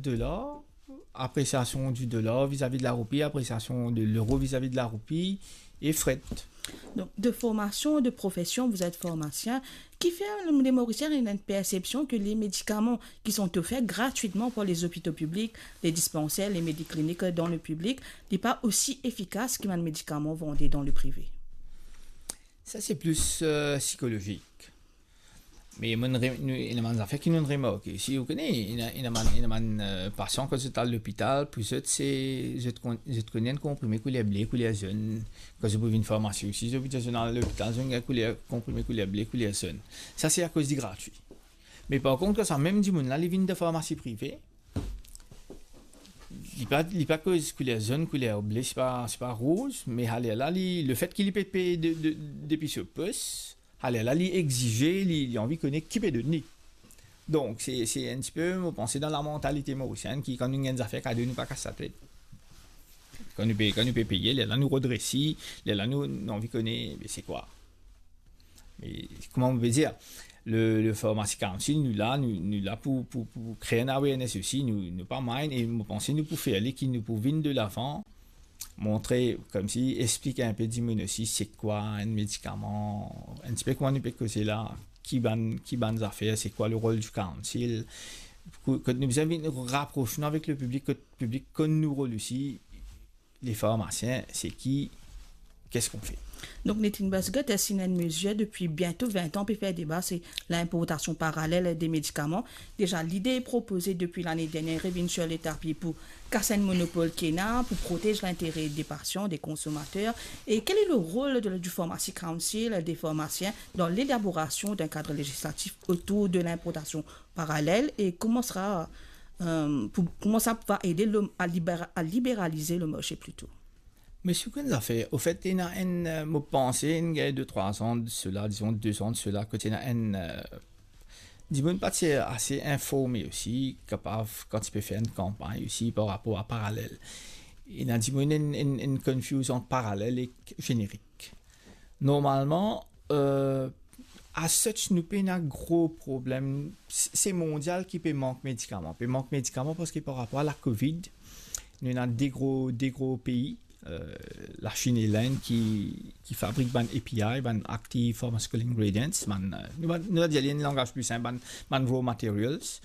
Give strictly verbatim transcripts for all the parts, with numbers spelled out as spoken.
dolar, appréciation du dollar vis-à-vis de la roupie, appréciation de l'euro vis-à-vis de la roupie, et fret. Donc, de formation, de profession, vous êtes pharmacien. Ki fer les Mauriciens ont une perception que les médicaments qui sont offerts gratuitement par les hôpitaux publics, les dispensaires, les médicliniques dans le public, n'est pas aussi efficace que les médicaments vendus dans le privé? Sa se plis, euh, psikolozik. Me mo re-, nou, ena bann zafer ki nou remarke. Si ou kone, ena, ena bann, ena bann, euh, pasian, kan zot al lopital, pou zot se, zot kon-, zot kone enn konprime kouler ble, kouler zonn. Kan zot pou vinn farmasi osi, zot pou dir zot al lopital, zot gagn kouler, konprime kouler ble, kouler zonn. Sa se akoz li gratwi. Me par kont, kan sa mem dimoun la, li vinn dan farmasi prive, li pa, li pa koz kouler zonn, kouler ble, se pa, se pa rouz, me alerla, li, lefet ki li pe peye de, de, depi so pos, alerla, li exize, li, li anvi kone ki pe donn li. Donk, se, se enn tipe, mo panse, dan lamantalite morisienn ki, kan nou gagn zafer kado, nou pa kas latet. Kan nou pe, kan nou pe peye, lerla nou redresi, lerla nou, nou anvi kone, be, se kwa. Me, kouma mo pe dir, le, le Pharmacy Council, nou la, nou, nou la pou, pou, pou kree enn awareness osi, nou, nou pa mind, e mo panse nou pou fer li ki nou pou vinn de lavan, montre, koumsi, explike enn pe dimoun osi se kwa enn medikaman, enn tipe kouma nou pe koze la, ki bann, ki bann zafer, se kwa le rol du council. Kot nou bizin vinn rapros nou avek le piblik, kot piblik konn nou rol osi, les pharmaciens, c'est qui, qu'est-ce qu'on fait? Donc, Nitin Basgott, est-ce une mesure depuis bientôt vingt ans peut faire débat, c'est l'importation parallèle des médicaments. Déjà, l'idée est proposée depuis l'année dernière, revient sur le tapis pour kas enn monopol ki ena, pour protéger l'intérêt des patients, des consommateurs. Et quel est le rôle de, du Pharmacy Council, des pharmaciens, dans l'élaboration d'un cadre législatif autour de l'importation parallèle et comment sera, euh, pour, comment ça va aider l'homme à libéra-, à libéraliser le marché plutôt? Me seki enn zafer, ofet, ena enn, euh, mo panse, ena gagn de trwa an de sela, dizon de an de sela, kot ena enn, euh, dimoun pa ti ase informe osi, kapav, kan ti pe fer enn kanpagn osi par rapor a parallèle. Ena dimoun enn, enn, enn confuse ant parallèle ek générique. Normalman, euh, as such, nou pena gro problem. Se, se mondial ki pe mank medikaman. Pe mank medikaman parski par rapor a la covid, nou ena de gro, de gro pei, euh, Lachin e Lind ki, ki fabrik bann A P I, bann active pharmaceutical ingredients, bann, euh, nou va, nou va dir li enn langaz pli sinp, bann, bann raw materials.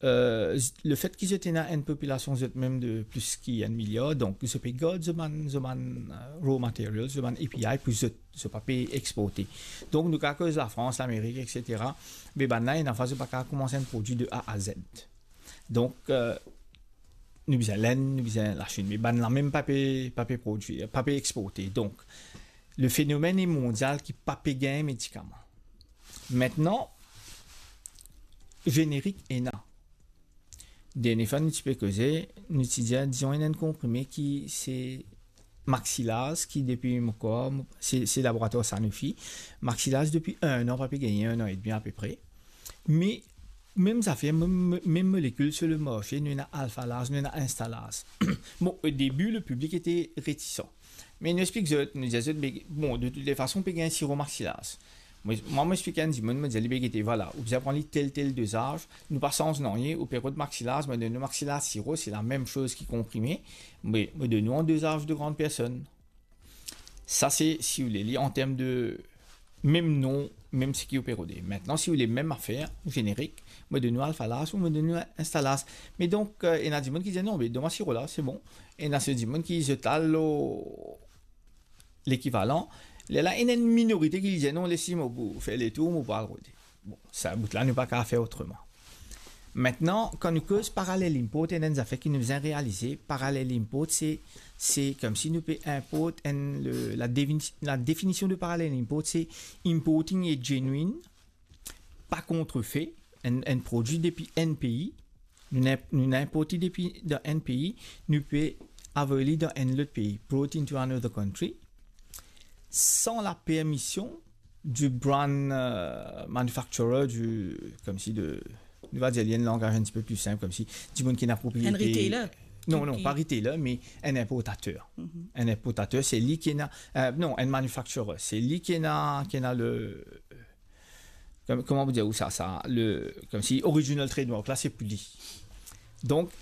Euh, z-, lefet ki zot ena enn popilasion zot mem de plis ki enn miliar, donk zot pe gard zot bann, zot bann, euh, raw materials, zot bann A P I pou zot, zot pa pe exporte. Donk nou kapav koz Lafrans, Lamerik, et cetera. Me bann la, ena fwa zot pa kapav koumans enn prodwi de A à Z. Donk, euh, nou bizin Lind, nou bizin Lachin, me bann la mem pa pe, pa pe prodwi, pa pe exporte. Donk, le fenomenn e mondial ki pa pe gagn medikaman. Aster, générique ena. Dernie fwa nou ti pe koze, nou ti dir, dizon, ena enn konprime ki se Maxilaz, ki depi mo krwar, se, se laboratwar Sanofi. Maxilaz depi enn an, pa pe gagn enn an edmi apepre. Me mem zafer, mem, mem molekil sir le marse, nou ena Alphalaz, nou ena Instalaz. Bon, o debi, le piblik ete retisan. Me nou explik zot, nou dir zot, be, bon, de toutes les façons, pe gagn siro Maxilaz. Mwa, mwa, mo explik enn dimoun, mo dir li, be, gete, vwala, ou bizin pran li tel, tel dozaz, nou pa sanz nanye, ou pe rod Maxilaz, mo donn ou Maxilaz siro, se lamem soz ki konprime, me mo donn ou an dozaz de gran personn. Sa se, si ou le, li an term de mem non, mem seki ou pe rode. Aster, si ou le mem zafer, générique, mo donn ou Alphalaz ou mo donn ou Instalaz. Me donk, euh, ena dimoun ki dir, non, be, donn mwa siro la, se bon. Ena se dimoun ki zot al lor lekivalan. Lerla, ena enn minorite ki dir, non, les li, mo pou fer letour, mo pou al rode. Bon, sa bout la, nou pa kapav fer otreman. Aster, kan nou koz parallel import, ena enn zafer ki nou bizin realize, parallel import, se, se koumsi nou pe import enn, le, la defini-, la definision de parallel import, se importing a genuine, pa kontrefe, enn, enn prodwi depi enn pei, nou ena, nou ena inporte depi dan enn pei, nou pe avoy li dan enn lot pei, brought into another country, san la permision du brand, euh, manufacturer, du, koumsi de, nou va dir, li enn langaz enn tipe pli sinp, koumsi dimoun ki ena propriete. Enn retailer? Non, non, pa retailer, me enn inportater. Enn inportater, se li ki ena, euh, non, enn manufacturer, se li ki ena, ki ena le, kom-, kouma pou dir ou sa, sa, le, koumsi original trademark la, se pou li. Donk,